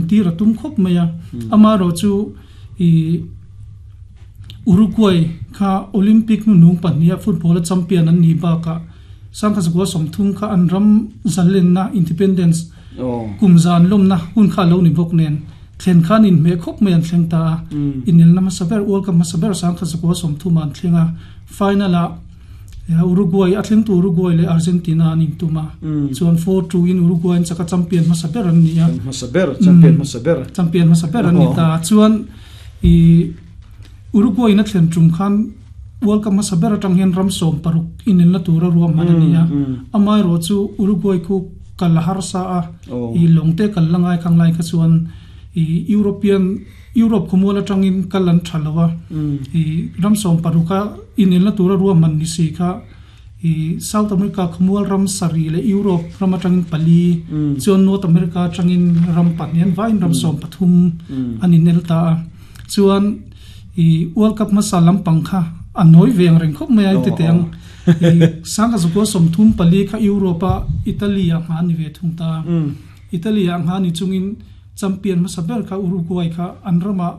tir a tum khawp mai a. Amaherawhchu i Uruguay kha Olympic hnuhnung pahniha football-a champion an nih bakah 1930 kha an ram zalenna, independence, kum zan lawmna hun kha a lo ni bawk nen thlen khan inhmeh khawp mai an thleng ta a. Inelna hmasa ber, World Cup hmasa ber 1930 ah an thleng a, final-ah Uruguay, a thlengtu Uruguay leh Argentina an intum a, chuan 4-2 in Uruguay an chak a, champion hmasa ber an ni a. Hmasa ber, champion hmasa ber. Champion hmasa ber an ni ta a, chuan i Uruguay in a thlen tum khan World Cup hmasa ber atang hian ram 16 inelna tura ruahman a ni a, amaherawh chu Uruguay khu kal a harsa a, i lawng te kal la ngai khang lai kha chuan i European Europe khawmual atangin kal an tha lo a, i ram 16 a inelna tura ruahman ni si kha i South America khawmual ram sarih leh Europe ram atangin pali chuan North America atangin ram pahnih an vaiin ram 13 an inel ta a. Chuan i World Cup hmasa lampang kha a nawi ve ang reng khawp mai a inti teh ang. I 1934 kha Europe a Italy ah ngha a ni ve thung ta a. Italy ah ngha ni chungin Champion hmasa ber kha Uruguay kha an ramah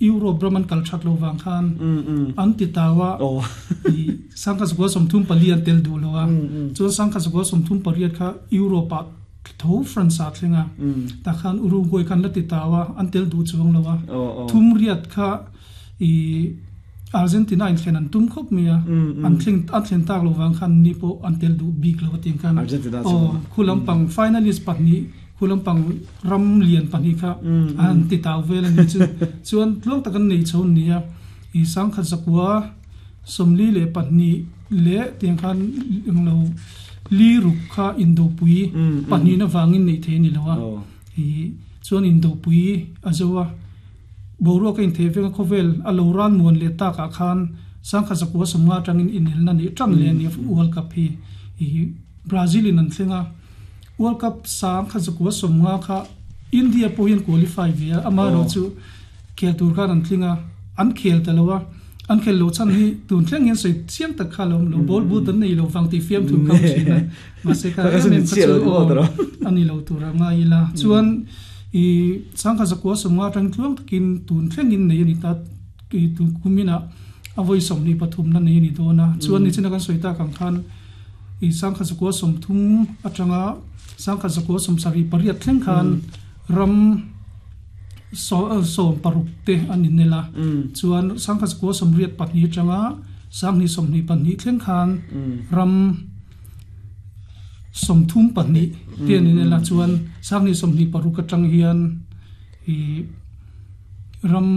Europe ram an kal that lo vang khan an ti tau a, i 1934 an tel duh lo a, chuan 1938 kha Europe ah tho France ah thleng a, tah khan Uruguay kha an la ti tau a, an tel duh chuang lo a, thum riat kha i Argentina in thlen an tum khawp mai a, an thleng an thlen tak lo vang khan ni pawh an tel duh bik lo a tih ang khan aw khu lampang finalist pahnih Khu lampang ram lian pahnih kha a han ti tau vel a ni chu. Chuan tluang tak an nei chho an ni a, i 1942 leh tiang khan englo li ruk kha indopui pahnihna vangin neih thei a ni lo a, i chuan indopui a zo a, boruak a inthei vek a, khawvel a lo ran muan leh takah khan 1950 atangin inelna neih tan leh a ni a World Cup hi i Brazil in an thleng a. World Cup sang kha 1950 kha India pawh hian qualify ve a, amaherawhchu khel tur khan an tling a, an khel ta lo a, an khel loh chhan hi tun thleng hian sawi chiang tak kha a lo awm lo, ball boot an nei lo vang tih fiamthu kha awm thin a, mahse kha em em kha chu aw a ni lo tur a ngai ila. Chuan i 1950 atang tluang takin tun thlengin nei a ni ta, i tun kuminah a vawi 23 na nei a ni dawn a, chuan nichina kan sawi tak ang khan, I 1930 atanga 1978 thleng khan ram 16 te an inel a, chuan 1982 atanga 2022 thleng khan ram 32 te an inel a, chuan 2026 atang hian i ram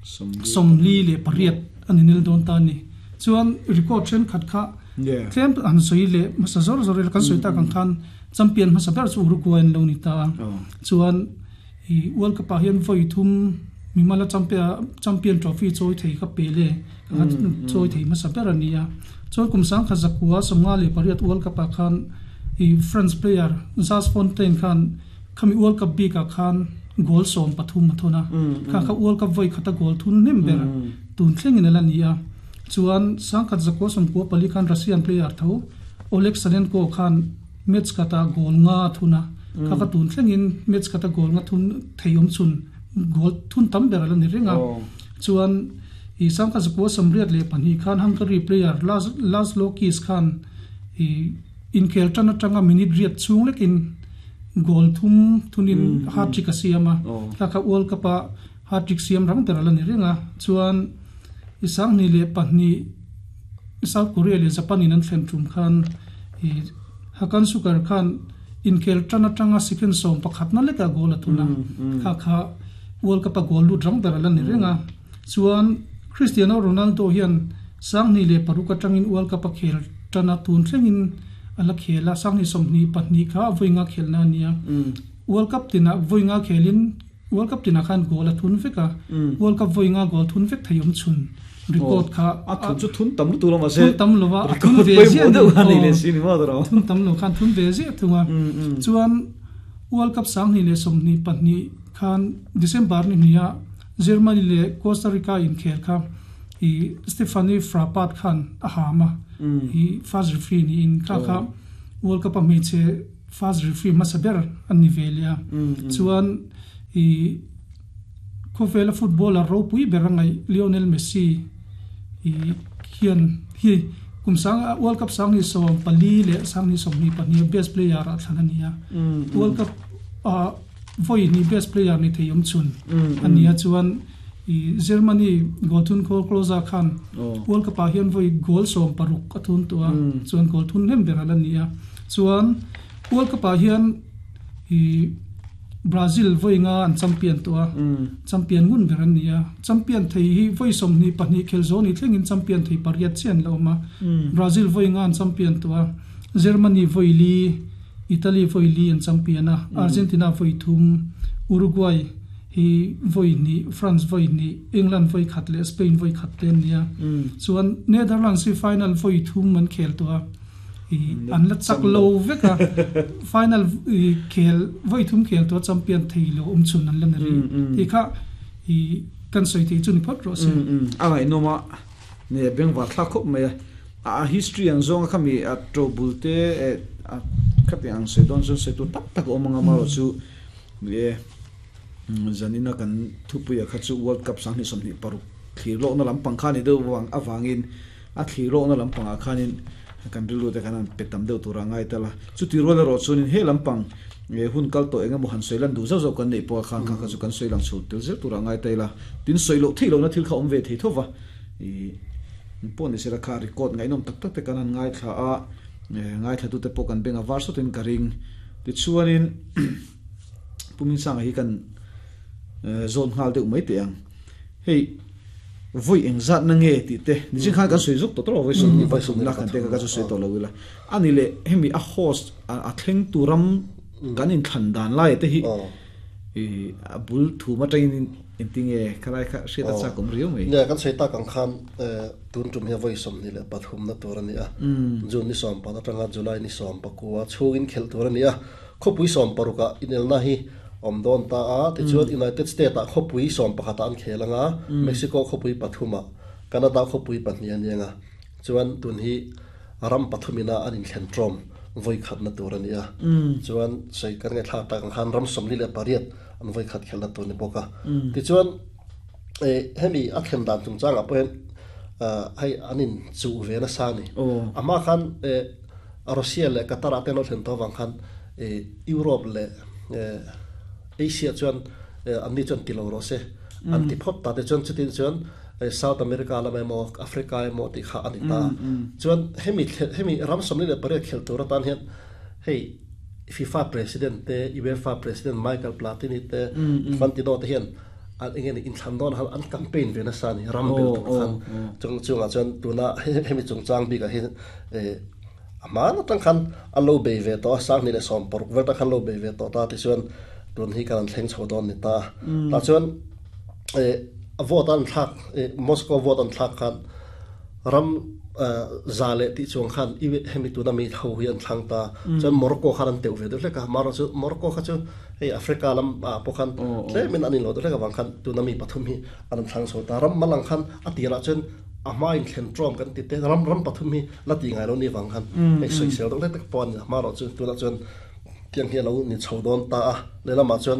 48 an inel dawn ta a ni. Chuan record thenkhat kha tlem han sawi leh hmasa zawr zawr ila kan sawi tak ang khan champion hmasa ber chu Uruguay an lo ni ta a. Chuan i World Cup ah hian vawi thum mimala champion trophy chawi thei kha pe le kha chawi thei hmasa ber a ni a. Chuan kum 1958 World Cup ah khan i France player Just Fontaine khan khami World Cup bik ah khan goal 13 a thun a. Kha kha World Cup vawi khata goal thun hnem ber tun thlengin a la ni a. Chuan 1994 khan Russian player tho Oleg Salenko khan match khatah goal nga a thun a, kha kha tun thlengin match khata goal nga thun thei awm chhun goal thun tam ber a la ni reng a. Chuan i 1982 khan Hungary player Laszlo Kiss khan i inkhel tan atanga minute riat chhung lekin goal thum thunin hat-trick a siam a, kha kha World Cup-a hat-trick siam rang ber a la ni reng a. Chuan i 2002 South Korea leh Japan in an thlen tum khan i Hakan Suker khan inkhel tan atanga second 11 na lekah goal a thun a, kha kha World Cup a goal lut rang ber a la ni reng a. Chuan Cristiano Ronaldo hian 2006 atangin World Cup a khel tan a, tun thlengin a la khel a, 2022 kha vawi nga khelna a ni a. World Cup tinah vawi nga khelin World Cup tinah khan goal a thun vek a, World Cup vawi nga goal thun vek thei awm chhun record kha a thun chu thun tam lutuk lo mahse thun tam lo a, a thun ve ziah ni aw, thun tam lo khan thun ve ziah thung a. Chuan World Cup 2022 khan December ni hnih ah Germany leh Costa Rica inkhel kha i Stephanie Frappart khan a ham a, i first referee niin kha kha World Cup a hmeichhe first referee hmasa ber an ni ve leh a. Chuan i. I khawvela footballer ropui ber a ngaih Lionel Messi i hian hi kum sang World Cup sang ni 14 leh sang ni 22 best player ah thlan a ni a. World Cup ah vawi hnih best player ni thei awm chhun a ni a chuan i Germany goal thun khawl Klose khan World Cup ah hian vawi goal 16 a thun tawh a chuan goal thun hnem ber a la ni a. Chuan World Cup ah hian i Brazil vawi nga an champion tawh a, champion ngun ber an ni a. Champion thei hi vawi 22 khel zawh ni thlengin champion thei pariat chiah an la awm a. Brazil vawi nga an champion tawh a, Germany vawi li, Italy vawi li an champion a, Argentina vawi thum, Uruguay hi vawi hnih, France vawi hnih, England vawi khat leh Spain vawi khat te an ni a. Chuan Netherlands hi final vawi thum an khel tawh a. An la chak lo vek a, final khel vawi thum khel tawh champion thei lo awm chhun an la ni rih tih kha kan sawi thei chu ni phawt rawh se. A ngaihnawm a, ne bengvar thlak khawp mai a, a history ang zawng a khami a to bul te khati ang sawi dawn chuan sawi tur tak tak a awm ang a, amaherawhchu ni e zanina kan thupuia kha chu World Cup 2026 thlir lawkna lampang kha ni deuh avangin A thlir lawkna lampangah khanin kan rilru te khan an pe tam deuh tur a ngai tal a. Chuti rual erawh chuanin he lampang hun kal tawh eng emaw han sawi lan duh zauh zauh kan neih pawh a khan kha kha chu kan sawi lang chho tel zel tur a ngai ta ila. Tin, sawi loh theih lohna thil kha awm ve thei tho va. Ih, pawh ni sela kha record ngaihnawm tak tak te kan han ngaithla a, ngaithlatute pawh kan beng a var sawtin ka ring. Tichuanin Pu Minsanga hi kan zawn nghal deuh mai teh ang. Hei vawi engzat na nge tih te nichin khan kan sawi zuk tawh tawh lo vawi sawmhnih vawi thumna kan te kha ka chu sawi tawh lo ila a ni leh hemi a host a thleng tu ram kan inthlan dan lai te hi a bul thum atangin engtinge khalai kha hriat a chak awm riau mai. Nia kan sawi tak ang khan tun tum hian vawi 23 na tur a ni a, June ni 14 atanga July ni 19 chhungin khelh tur a ni a. Khawpui 16 ah inelna hi awm dawn ta a, tichuan United States ah khawpui 11 ah an khel ang a, Mexico khawpui pathum ah, Canada khawpui pahnih a ni ang a, chuan tun hi ram pathum ina an inthlen tawm vawi khatna tur a ni a, chuan sawi kan ngaihthlak tak ang khan ram 48 an vawi khat khelna tur a ni bawk a, tichuan hemi a thlen dan chungchangah pawh hian hei an inchuh ve nasa a ni, a hma khan. Russia leh Qatar ah te an lo thlen tawh avang khan Europe leh Asia chuan anni chuan ti lo rawh se an ti phawt ta te chuan chutin chuan South America lam emaw Africa emaw tih kha a ni ta. Chuan hemi hemi ram 48 khel tur atan hian hei FIFA President te UEFA President Michael Platini te Infantino te hian an enge ni inthlan dawn han an campaign ve nasa a ni ram bel tur khan chung chungah chuan tuna hemi chungchang bikah hian A hmaan atang khan a lo bei ve tawh a, 2016 vel atang khan lo bei ve tawh ta tichuan tun hi kan an thleng chho dawn ni ta. Tah chuan a vote an thlak Moscow vote an thlak khan ram za leh tih chuang khan hemi tuna mi ho hi an thlang ta. Chuan Morocco khan an teuh ve deuh hlek a, amaherawh chu Morocco kha chu hei Africa lam ah pawh khan tlemin an inlo deuh hlek avang khan tuna mi pathum hi an thlang chho ta. Ram mal ang khan a tirah chuan A hmain thlen ṭawm kan ti te, ram ram pathum hi la ti ngai lo ni vang khan hei sawisel deuh hlek tak pawh a ni a, hmarawh chu tunah chuan tiang hi a lo ni chho dawn ta a, lehlamah chuan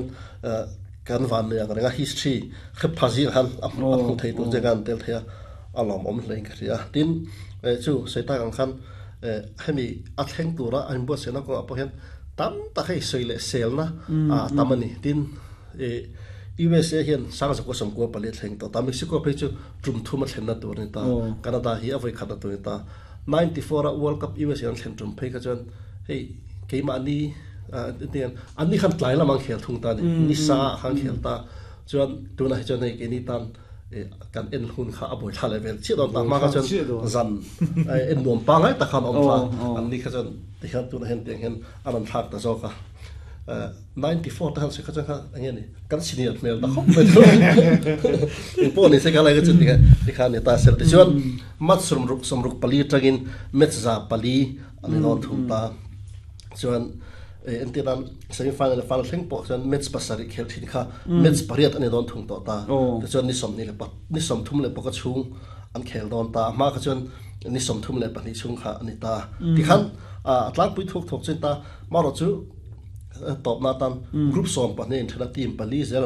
kan van nei ang reng a history hrep pha zingah khan a hmuh thei tur che khan an tel thei a, a lawmawm hle in ka hria a, tin chu sawi tak ang khan hemi a thleng tura a inbuatsaihna kawngah pawh hian tam tak hei sawi leh selna a tam a ni, tin. USA hian Sangzakua sawmkua pali a thleng tawh ta, Mexico phei chu tum thum a thlenna tur a ni ta, Canada hi a vawi khatna tur a ni ta. 94 a World Cup USA an thlen tum phei kha chuan hei keimahni an ni khan tlai lam an khel thung ta a ni, ni sa ah khan khel ta chuan tunah hi chuan hei keini tan kan en hun kha a buai thla leh vel chiah dawn ta, hma kha chuan zan en nuam pangngai tak khan a awm thla, an ni kha chuan tikhian tunah hian tiang hian a rawn thlak ta zawk a. 94 te han sawi kha chuan kha enge ni kan senior hmel ta khawp mai chu eng pawh ni se kha lai kha chu ti ti kha ni ta sel ti chuan match sawmruk sawmruk pali atangin match za pali an in thum ta chuan entir nan semi final leh final thleng pawh chuan match pasarih khel thin kha match pariat an in dawn thung tawh ta tichuan ni sawmhnih leh ni sawmthum leh pawka chhung an khel dawn ta hma kha chuan ni 32 chhung kha ani ta tikhan a tlangpui thuk thuk chuan ta marawh chu tawpna atan group 12 in then a team pali zel.